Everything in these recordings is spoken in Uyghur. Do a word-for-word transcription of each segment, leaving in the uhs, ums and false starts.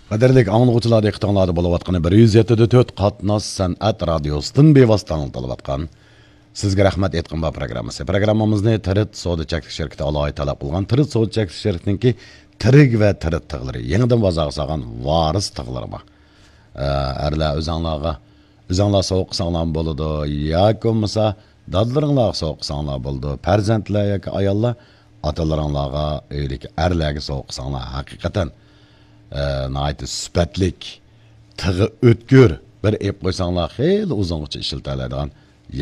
قەدىرلىك ئاڭلىغۇچىلار، دىققىتىڭلاردا بولۇۋاتقىنى بىر يۈز يەتتە دە تۆت قاتناش سەنئەت رادىيوسىدىن بىۋاسىتە ئاڭلىتىلىۋاتقان سىزگە رەھمەت ئېيتقىن بار پروگراممىسى. پروگراممىمىزنى تىرىت سودا چەكلىك شىركىتى ئالاھىدە تەلەپ قىلغان تىرىت سودا چەكلىك شىركىتىنىڭكى تىرىك ۋە تىرىت تىغلىرى، يېڭىدىن بازارغا سالغان ۋارىس تىغلىرى بار. ئە، ئەرلەر ئۆزەڭلارغا، ئۆزەڭلار سوۋغا قىلساڭلارمۇ بولىدۇ، ياكى بولمىسا دادىلىرىڭلارغا سوۋغا قىلساڭلار بولىدۇ. پەرزەنتلەر ياكى ئاياللار ئاتىلىرىڭلارغا، ئۆيدىكى ئەرلەرگە سوۋغا قىلساڭلار ھەقىقەتەن، ئە، ناھايىتى سۈپەتلىك، تىغى ئۆتكۈر، بىر ئېلىپ قويساڭلار خېلى ئۇزۇنغىچە ئىشلىتەلەيدىغان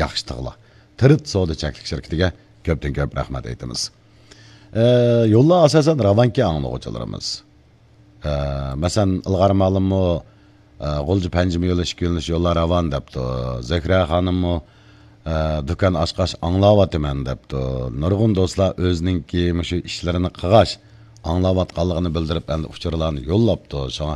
ياخشى تىغلار. تىرىت سودا چەكلىك شىركىتىگە كۆپتىن كۆپ رەھمەت ئېيتىمىز. ئە، يوللار ئاساسەن راۋانكى ئاڭلىغۇچىلىرىمىز. ئە، مەسىلەن، ئىلغار مالىممۇ، ئە، غۇلجا پەنجىمە يولى ئىككى يۆنىلىش يوللار راۋان دەپتۇ. زۆھرە خانىممۇ، ئە، دۇكان ئاچقاچ ئاڭلاۋاتىمەن دەپتۇ. نۇرغۇن دوستلار ئۆزىنىڭكى مۇشۇ ئىشلىرىنى قىلغاچ ئاڭلاۋاتقانلىقىنى بىلدۈرۈپ، ئەمدى ئۇچۇرلارنى يوللاپتۇ. شۇڭا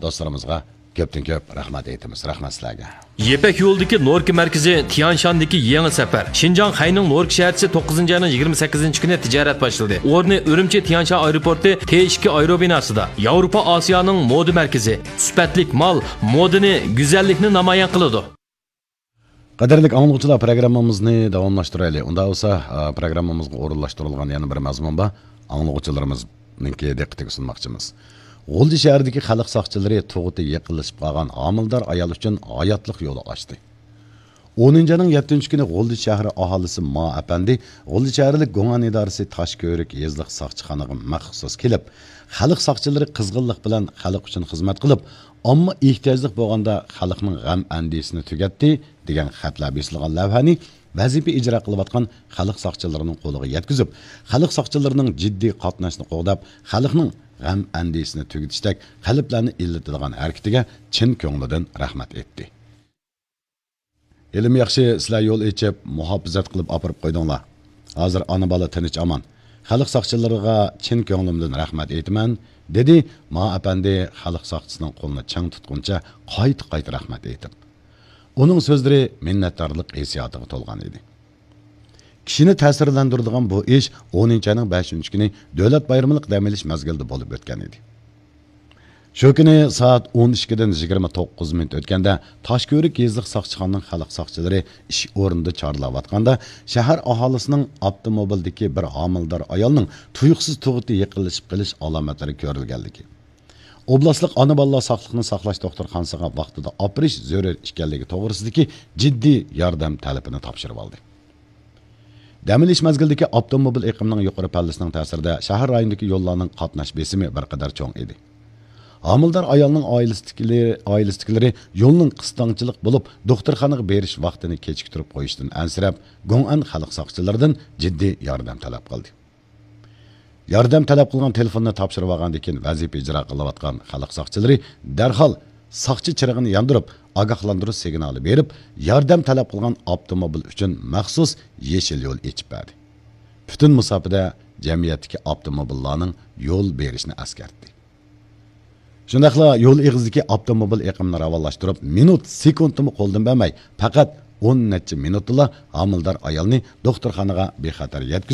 دوستلىرىمىزغا كۆپتىن كۆپ رەھمەت ئېيتىمىز. رەھمەت سىلەرگە. يىپەك يولىدىكى نوركا مەركىزى تيانشاندىكى يېڭى سەپەر. شىنجاڭ خەينىڭ نوركا شەھەرچىسى توققۇزىنچى ئاينىڭ يىگىرمە سەككىزىنچى كۈنى تىجارەت باشلىدى. ئورنى ئۈرۈمچى تيانشان ئايروپورتى تې ئىككى ئايروبىناسىدا. ياۋروپا ئاسىيانىڭ مودا مەركىزى. سۈپەتلىك مال، مودىنى، گۈزەللىكنى نامايان قىلىدۇ. قەدىرلىك ئاڭلىغۇچىلار، پروگراممىمىزنى داۋاملاشتۇرايلى. ئۇنداق بولسا، ئا، پروگراممىمىزغا ئورۇنلاشتۇرۇلغان يەنە بىر مەزمۇن بار. ئاڭلىغۇچىلىرىمىزنىڭكى دىققىتىگە سۇنماقچىمىز. غۇلجا شەھىرىدىكى خەلق ساقچىلىرى تۇغۇتى يېقىنلىشىپ قالغان ھامىلىدار ئايال ئۈچۈن ھاياتلىق يولى ئاچتى. ئونىنچى ئاينىڭ يەتتىنچى كۈنى غۇلجا شەھىرى ئاھالىسى ما ئەپەندى غۇلجا شەھەرلىك گوڭئەن ئىدارىسى تاشكۆۋرۈك يېزىلىق ساقچىخانىغا مەخسۇس كېلىپ، خەلق ساقچىلىرى قىزغىنلىق بىلەن خەلق ئۈچۈن خىزمەت قىلىپ، ئامما ئېھتىياجلىق بولغاندا خەلقنىڭ غەم ئەندىشىسىنى تۈگەتتى، دېگەن خەتلەر بېسىلغان لەۋھەنى ۋەزىپە ئىجرا قىلىۋاتقان خەلق ساقچىلىرىنىڭ قولىغا يەتكۈزۈپ، خەلق ساقچىلىرىنىڭ جىددىي قاتناشنى قوغداپ، خەلقنىڭ غەم ئەندىشىسىنى تۈگىتىشتەك قەلبلەرنى ئىللىتىدىغان ھەرىكىتىگە چىن كۆڭلىدىن رەھمەت ئېيتتى. ھېلىمۇ ياخشى، سىلەر يول ئېچىپ، مۇھاپىزەت قىلىپ ئاپىرىپ قويدۇڭلار. ھازىر ئانا-بالا تىنچ-ئامان. خەلق ساقچىلىرىغا چىن كۆڭلۈمدىن رەھمەت ئېيتىمەن، دېدى ما ئەپەندى خەلق ساقچىسىنىڭ قولىنى چىڭ تۇتقىنىچە قايتا-قايتا رەھمەت ئېيتىپ. ئۇنىڭ سۆزلىرى مىننەتدارلىق ھېسسىياتىغا تولغان ئىدى. كىشىنى تەسىرلەندۈرىدىغان بۇ ئىش ئونىنچى ئاينىڭ بەشىنچى كۈنى دۆلەت بايرىملىق دەم ئېلىش مەزگىلىدە بولۇپ ئۆتكەن ئىدى. شۇ كۈنى سائەت ئون ئىككىدىن يىگىرمە توققۇز مىنۇت ئۆتكەندە، تاشكۆۋرۈك يېزىلىق ساقچىخانىنىڭ خەلق ساقچىلىرى ئىش ئورنىدا چارلاۋاتقاندا، شەھەر ئاھالىسىنىڭ ئاپتوموبىلدىكى بىر ھامىلىدار ئايالنىڭ تۇيۇقسىز تۇغۇتى يېقىنلىشىپ قېلىش ئالامەتلىرى كۆرۈلگەنلىكى، ئوبلاستلىق ئانا-بالىلار ساقلىقنى ساقلاش دوختۇرخانىسىغا ۋاقتىدا ئاپىرىش زۆرۈر ئىكەنلىكى توغرىسىدىكى جىددىي ياردەم تەلىپىنى تاپشۇرۇۋالدى. دەم ئېلىش مەزگىلىدىكى ئاپتوموبىل ئېقىمىنىڭ يۇقىرى پەللىسىنىڭ تەسىرىدە شەھەر رايونىدىكى يوللارنىڭ قاتناش بېسىمى بىر قەدەر چوڭ ئىدى. ھامىلىدار ئايالنىڭ ئائىلىسىدىكىلىرى، ئائىلىسىدىكىلىرى يولنىڭ قىستاڭچىلىق بولۇپ، دوختۇرخانىغا بېرىش ۋاقتىنى كېچىكتۈرۈپ قويۇشتىن ئەنسىرەپ، گوڭئەن خەلق ساقچىلىرىدىن جىددىي ياردەم تەلەپ قىلدى. ياردەم تەلەپ قىلغان تېلېفوننى تاپشۇرۇۋالغاندىن كېيىن، ۋەزىپە ئىجرا قىلىۋاتقان خەلق ساقچىلىرى دەرھال ساقچى چىرىغىنى ياندۇرۇپ، ئاگاھلاندۇرۇش سىگنالى بېرىپ، ياردەم تەلەپ قىلغان ئاپتوموبىل ئۈچۈن مەخسۇس يېشىل يول ئېچىپ بەردى. پۈتۈن مۇساپىدە جەمئىيەتتىكى ئاپتوموبىللارنىڭ يول بېرىشىنى ئەسكەرتتى. شۇنداقلا يول ئېغىزىدىكى ئاپتوموبىل ئېقىمىنى راۋانلاشتۇرۇپ، مىنۇت، سېكۇنتىمۇ قولدىن بەرمەي، پەقەت ئون نەچچە مىنۇتتىلا ھامىلىدار ئايالنى دوختۇرخانىغا بىخەتەر يەتكۈزۈپ،